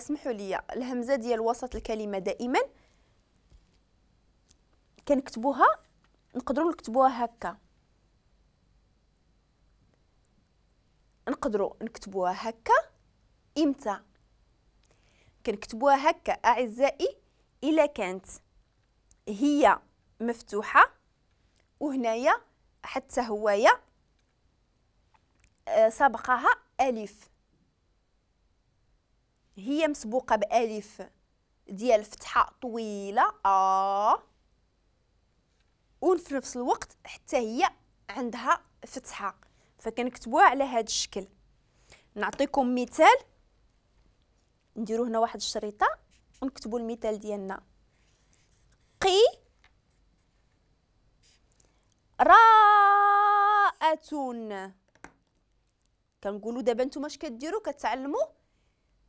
اسمحوا لي، الهمزة ديال وسط الكلمة دائما كنكتبوها، نقدروا نكتبوها هكا، نقدروا نكتبوها هكا. امتى كنكتبوها هكا اعزائي؟ الا كانت هي مفتوحة وهنايا حتى هوايا سبقها الف، هي مسبوقة بالف ديال فتحه طويلة وفي نفس الوقت حتى هي عندها فتحه، فكنكتبوها على هذا الشكل. نعطيكم مثال، نديرو هنا واحد الشريطه ونكتبوا المثال ديالنا. قي راءة. كنقولوا دابا نتوما اش كديروا؟ كتعلموا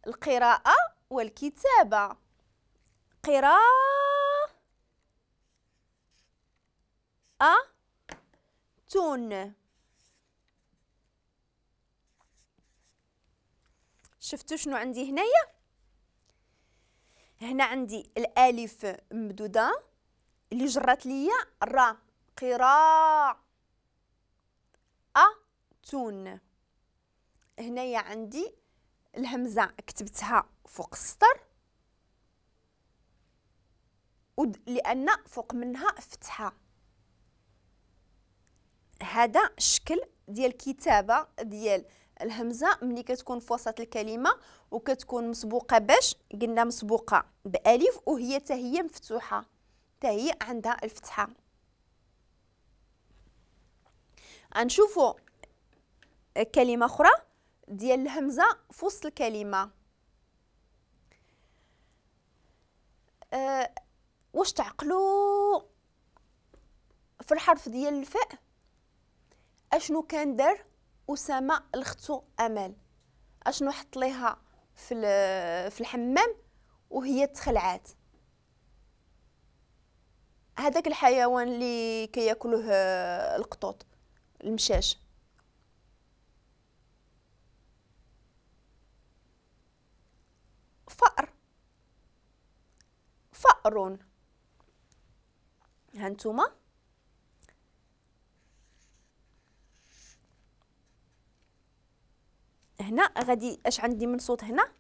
القراءة والكتابة. قراءة تون. شفتوا شنو عندي هنايا؟ هنا عندي الالف ممدوده اللي جرات ليا را، قراءة تون. هنايا عندي الهمزة كتبتها فوق السطر لان فوق منها فتحه. هذا الشكل ديال الكتابة ديال الهمزة ملي كتكون في وسط الكلمة وكتكون مسبوقة باش قلنا مسبوقة بالف وهي حتى هي مفتوحة، حتى هي عندها الفتحة. غنشوفوا كلمة اخرى ديال الهمزة في وسط الكلمة. واش تعقلوا في الحرف ديال الفاء اشنو كان دار اسامة لختو امل؟ اشنو حط ليها في الحمام وهي تخلعات؟ هذاك الحيوان اللي كياكلوه القطوط، المشاش. فأر، فأر. هانتوما هنا غادي اش عندي من صوت هنا؟